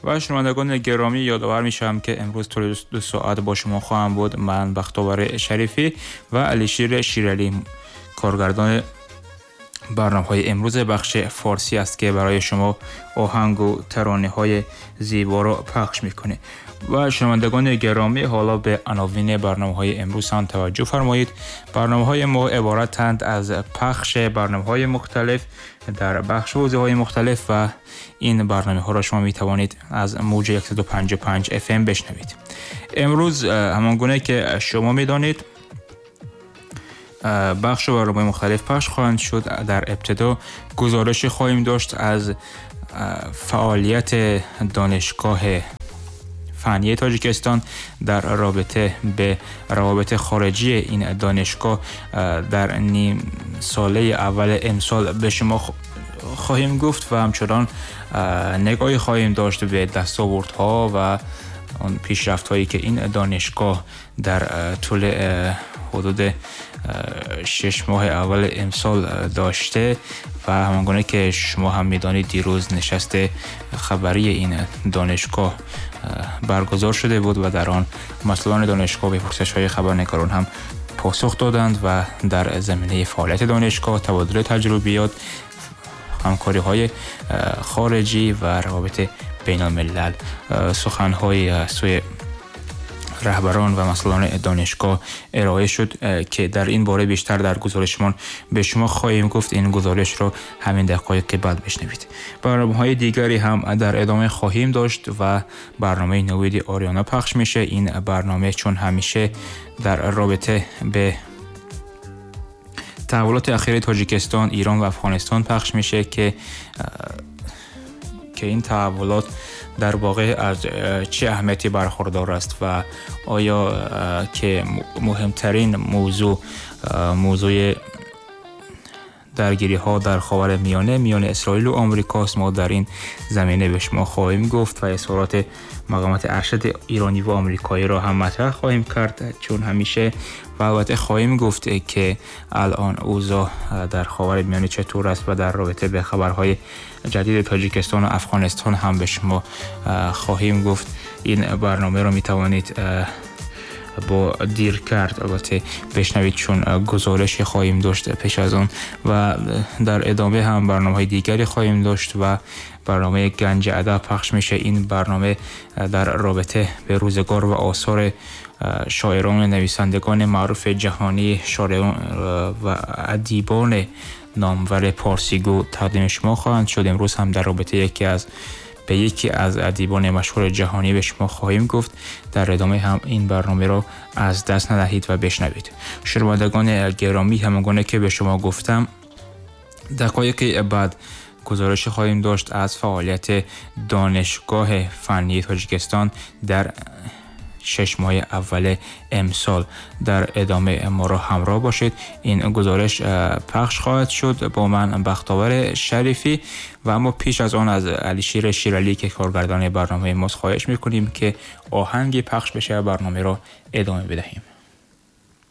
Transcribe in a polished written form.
و شنوندگان گرامی، یادآور میشم که امروز طول 2 ساعت با شما خواهم بود من، بختاور شریفی، و علیشیر شیرعلی، کارگردان برنامه های امروز بخش فارسی است که برای شما آهنگ و ترانه های زیبا را پخش میکنه. و شنوندگان گرامی، حالا به عناوین برنامه های امروز هم توجه فرمایید. برنامه های ما عبارتند از پخش برنامه های مختلف در بخش حوزه های مختلف و این برنامه ها را شما می توانید از موج 155 FM بشنوید. امروز همان گونه که شما می دانید بخش برنامه مختلف پخش خواهند شد. در ابتدا گزارش خواهیم داشت از فعالیت دانشگاه فنی تاجیکستان در رابطه به روابط خارجی این دانشگاه در نیم ساله اول امسال به شما خواهیم گفت و همچنان نگاهی خواهیم داشت به دستاوردها و آن پیشرفت هایی که این دانشگاه در طول حدود 6 ماه اول امسال داشته. و همانگونه که شما هم میدانید، دیروز نشست خبری این دانشگاه برگزار شده بود و در آن مسئولان دانشگاه به پرسش های خبرنگاران هم پاسخ دادند و در زمینه فعالیت دانشگاه، تبادل تجربیات، همکاری های خارجی و روابط بین الملل سخنهای سوی رهبران و مسئولان دانشگاه ارائه شد که در این باره بیشتر در گزارشمان به شما خواهیم گفت. این گزارش را همین دقایق بعد بشنوید. برنامه های دیگری هم در ادامه خواهیم داشت و برنامه نوید آریانا پخش میشه. این برنامه چون همیشه در رابطه به تحولات اخیر تاجیکستان، ایران و افغانستان پخش میشه که این تحولات در واقع از چه اهمیتی برخوردار است و آیا که مهمترین موضوع، موضوع درگیری ها در خاور میانه میان اسرائیل و آمریکاست، ما در این زمینه به شما خواهیم گفت و اظهارات مقامات ارشد ایرانی و آمریکایی را هم مطرح خواهیم کرد چون همیشه. و البته خواهیم گفت که الان اوضاع در خاور میانه چطور است و در رابطه به خبرهای جدید تاجیکستان و افغانستان هم به شما خواهیم گفت. این برنامه را می توانید با دیر کرد البته بشنوید، چون گزارش خواهیم داشت پیش از آن. و در ادامه هم برنامه های دیگری خواهیم داشت و برنامه گنج ادب پخش میشه. این برنامه در رابطه به روزگار و آثار شاعران و نویسندگان معروف جهانی، شاعران و ادیبان نامور پارسیگو تقدیم شما خواهند شد. امروز هم در رابطه یکی از ادیبان مشهور جهانی به شما خواهیم گفت. در ادامه هم این برنامه را از دست ندهید و بشنوید. شنوندگان گرامی، همانگونه که به شما گفتم، دقایق بعد گزارش خواهیم داشت از فعالیت دانشگاه فنی تاجیکستان در 6 ماه اول امسال. در ادامه ما را همراه باشید. این گزارش پخش خواهد شد با من، بختاور شریفی. و اما پیش از آن از علیشیر شیرالی که کارگردان برنامه ماست خواهش میکنیم که آهنگی پخش بشه و برنامه را ادامه بدهیم.